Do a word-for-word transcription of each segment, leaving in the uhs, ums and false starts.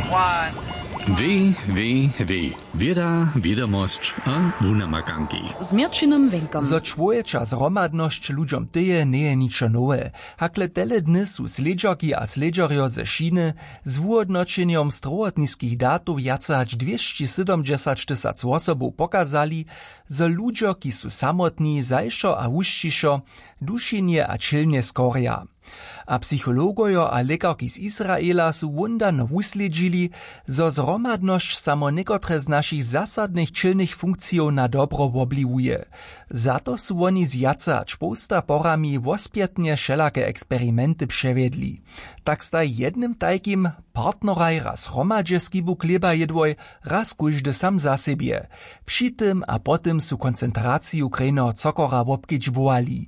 Www, wěda, wědomosć a wunamakanki z měrćinym wěnkom. Zo čłowječa zhromadnosć ludźom tyje, njeje ničo nowe. Hakle tele dny su slědźerki a slědźerjo ze Šiny z wuhódnoćenjom strowotniskich datow wjace hač dwěsći sydomdźesać tysac wosobow pokazali, zo ludźo, ki su samotni, zašo a wušćišo dušinje a ćělnje skorja. A psychologojo a lěkarki z Israela su wón dano wuslědźili, zo zhromadnosć samo někotre z našich zasadnych ćělnych funkcijow na dobro wobliwuje. Za to su woni z wjace hač połsta porami wospjetnje wšelake eksperimenty přewjedli. Tak staj jednym tajkim partneraj raz hromadźe skibu chlěba jědłoj, raz kóždy sam za sebje. Při tym a po tym su koncentraciju krejneho cokora wobkedźbowali.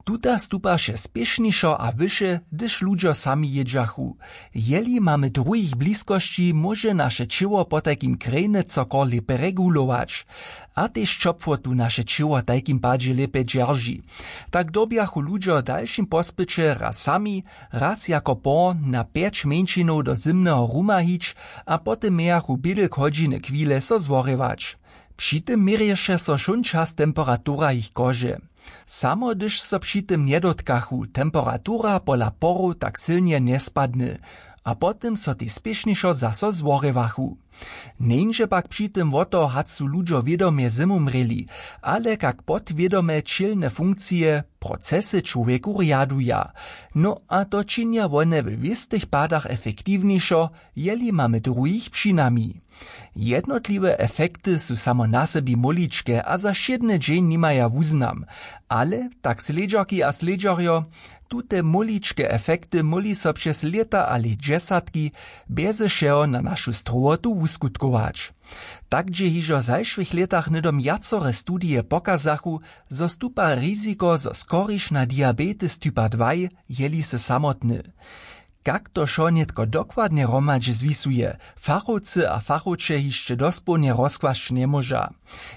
Tuta stupaše spěšnišo a wyše, hdyž ludźo sami jědźachu. Jeli mamy druhich w bliskosći, móže naše ćěło potajkim krejny cokor lěpje regulować. A tež ćopłotu naše ćěło tajkim padźe lěpje dźerži. Tak dyrbjachu ludźo w dalšim pospyće raz sami, raz jako por na pjeć mjeńšinow do zymneho ruma hić a po tym mějachu bědlk hodźiny chwile so zworěwać. Při tym měrješe so wšón čas temperatura jich kože. Samo hdyž so při tym njedotkachu, temperatura pola porow tak sylnje njespadny a po tym so tež spěšnišo zaso zworěwachu. Njeńdźe pak při tym wo to, hač su ludźo wědomje zymumrěli, ale kak podwědomje ćělne funkcije, procesy čłowjeku rjaduja. No a to činja wone we wěstych padach efektiwnješo, jeli mamy druhich při nami. Jednotliwe efekty su samo na sebi móličke a za wšědny dźeń nimaja wuznam. Ale tak slědźerki a slědźerjo, tute móličke efekty móhli so přez lěta a lětdźesatki bjeze wšeho na našu strowotu wuskutkować. Tak dźě hižo w zašłych lětach hnydom wjacore studije pokazachu, zo stupa riziko, zo skoriš na diabetes typa dwaj, jeli sy samotny. Kak to wšo nětko dokładnje hromadźe zwisuje, fachowcy a fachowče hišće dospołnje rozkłasć njemóža.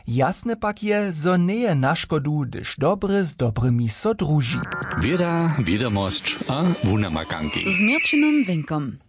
Jasne pak je, zo njeje na škodu, hdyž dobry z dobrymi so druži. Wěda, wědomosć a wunamakanki z měrćinym wěnkom.